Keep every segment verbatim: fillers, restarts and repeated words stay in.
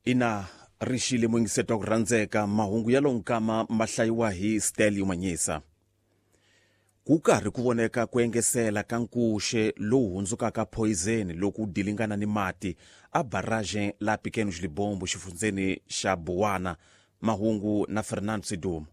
Ina rixile muyingiseti wa ku rhandzeka, mahungu ya lonkama ma hlayiwa hi Stelio Manyisa. Ku karhi ku voneka ku engesela ka nkuxe lowu hundzukaka poison loko wu dilingana ni mati a barragem la Pequenos Libombo xifundzeni xa Buwana. Mahungu na Fernando Sidumo.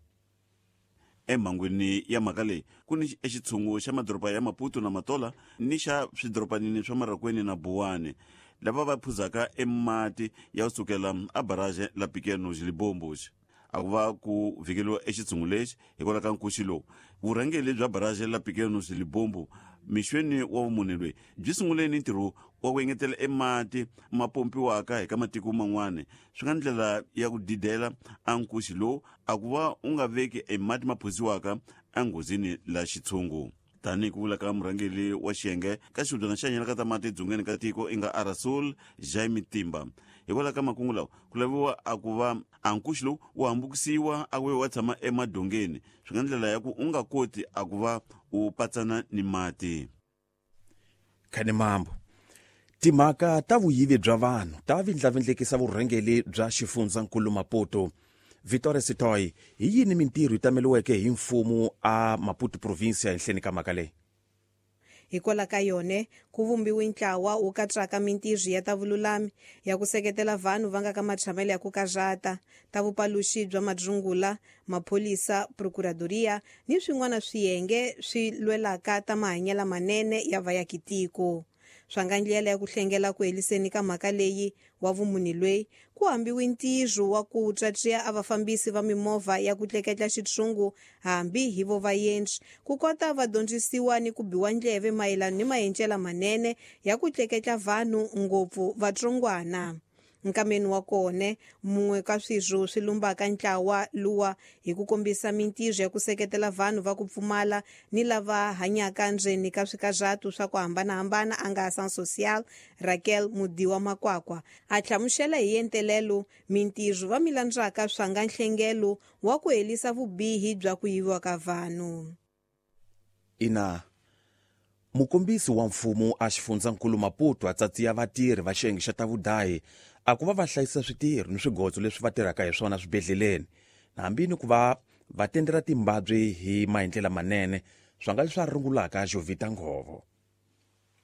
Emhangwini ya mhaka leyi ku ni exitshungu xa madoroba ya Maputo na Matola ni xa swidorobanini swa Marakweni na Buwani lava va phuzaka emati ya kusukela a barrage la Pequenos Libombos. A ku va ku vhikeliwa exitshungu lexi hikwalaho ka nkuxi lowu. Vurhangeri bya barrage la Pequenos Libombo mixweni wa vumune loyi byi sungule ni ntirho wa ku engetela emati ma pompiwaka hi ka matiko man'wana, swi nga ndlela ya ku didela a nkuxi lowu a ku va u nga veki emati ma phuziwaka enghozini la xitshungu. Tanihi ku vula ka murhangeri wa xiyenge ka xihubyana xa nyela ka ta mati edzongeni ka tiko i nga Arasul Jaime Timba, hikwalaho ka makungu lawa ku laviwa a ku va a nkuxi lowu wu hambukisiwa a ku wa tshama emadongeni, swi nga ndlela ya ku u nga koti a ku va u patsana ni mati. Khanemambo, timhaka ta vuyivi bya vanhu ta vindlavindlekisa vurhangeri bya xifundzankulu Maputo. Vitória Sitoy, hi yini mintirho yi tameliweke hi mfumo a Maputo province ehenhleni ka mhaka leyi? Hikwalaho ka yona ku vumbiwe ntlawa wu katsaka mintirho ya ta vululami ya ku seketela vanhu va nga ka matshamelo ya ku karhata, ta vupaluxi bya madzungula, mapholisa, procuradoria ni swin'wana swiyenge swi lwelaka ta mahanyelo manene ya vayakitiko. Swa nga ndlela ya ku hlengela ku heliseni ka mhaka leyi wa vumuni loyi ku hambiwe ntirho wa ku tsatsiya a vafambisi va mimovha ya ku tleketla xitshungu hambi hi vo vaendzi ku kota va dyondzisiwa ni ku biwa ndleve mayelana ni maendlelo manene ya ku tleketla vanhu ngopfu vatsongwana. Nkameni wa kona mun'we ka swirho swi lumbaka ntlawa luwa hi ku kombisa mintirho ya ku seketela vanhu va ku pfumala ni lava hanyaka ndzeni ka swikarhatu swa ku hambanahambana a nga Ação Social Raquel Mudiwa Makwakwa a hlamusela hi entelelo mintirho va milandzaka swa nga nhlengelo wa ku helisa vubihi bya ku yiviwa ka vanhu. Ina mukombisi wa mfumo a xifundzankulu Maputo a tsatsiya vatirhi va xiyenge xa ta vudayi a ku va va hlayisa switirho ni swigotso leswi va tirhaka hi swona swibedhleleni, hambi ni ku va va tendela timbabyi hi maendlela manene, swa nga leswi a rungulaka Jovita Nghovo.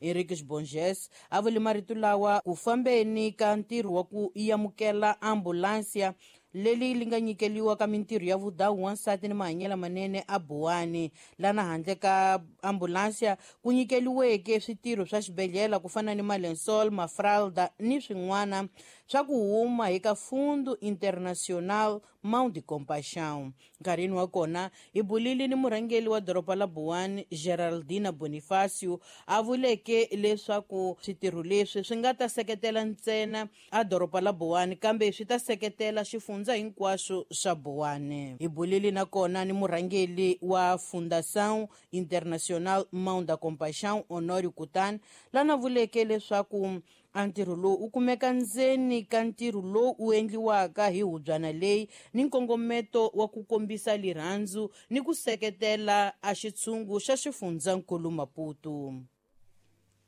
Henriques Bonges a vule marito lawa ku fambeni ka ntirho wa ku amukela ambulansia leli li nga nyikeliwa ka mintirho ya vudawu wansati ni mahanyelo manene a Buwani. Lana handle ka ambulansia ku nyikeliweke switirho swa xibedhlele ku fana ni malensol, mafralda ni swin'wana swa ku huma hi ka Fundo Internacional Mão de Compaixão. Nkarhini wa kona hi bulile ni murhangeri wa doroba la Buwani Geraldina Bonifacio a vuleke leswaku switirho leswi swi nga ta seketela ntsena a doroba la Buwani kambe swi ta seketela xifundza hinkwaswo swa Buwani. Hi bulile nakona ni murhangeri wa Fundação Internacional Mão da Compaixão Honório Kutan lana vuleke leswaku a ntirho lowu wu kumeka ndzeni ka ntirho lowu wu endliwaka hi hubyana leyi ni nkongometo wa ku kombisa lirhandzu ni ku seketela a xitshungu xa xifundzankulu Maputo.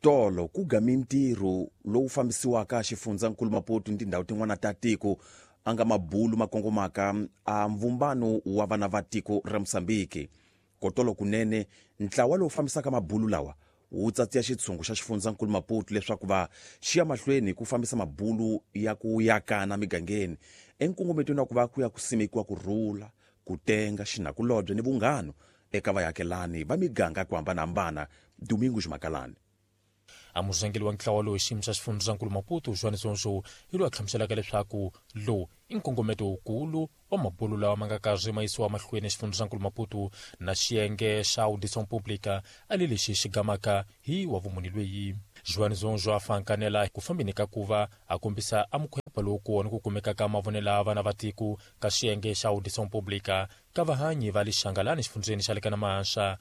Tolo ku ga mintirho lowu fambisiwaka xifundzankulu Maputo ni tindhawu tin'wana ta tiko a nga mabulu ma kongomaka a mvumbano wa vana va tiko ra Mozambique. Kotolo kunene ntlawa lowu fambisaka mabulu lawa wu tsatsiya xitshungu xa xifundzankulu Maputo leswaku va xiya mahlweni ku fambisa mabulu ya ku yakana migangeni enkongometweni wa ku va ku ya ku simekiwa ku rhula, ku tenga, xinakulobye ni vunghano eka vayakelani va miganga ku hambanahambana. Domingos Makalani. A murhangeri wa ntlawa lowu xiyimo xa xifundzankulu Maputo João Zonzo hi loyi a hlamuselaka leswaku lowu i nkongometo wukulu wa mabulu lawa ma nga karhi ma yisiwa mahlweni xifundzankulu Maputo na xiyenge xa Audição Pública ali lexi xi gamaka hi wa vumuni lweyi. João Zonzo a fankanela ku fambeni ka ku va a kombisa a mukhwepa lowu kona ku kumeka ka mavonelo ya vana va tiko ka xiyenge xa Audição Pública ka vahanyi va lixangalani xifundzeni xa le ka Namahanxa.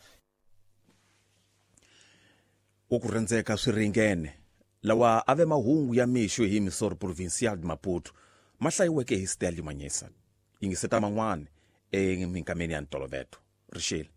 Ku rhandzeka swi ringene lawa a ve mahungu ya mixo hi Emissora Provincial de Maputo ma hlayiweke hi Stanley Manyisa. Yingiseta man'wana eminkameni ya ntoloveto. Rixile.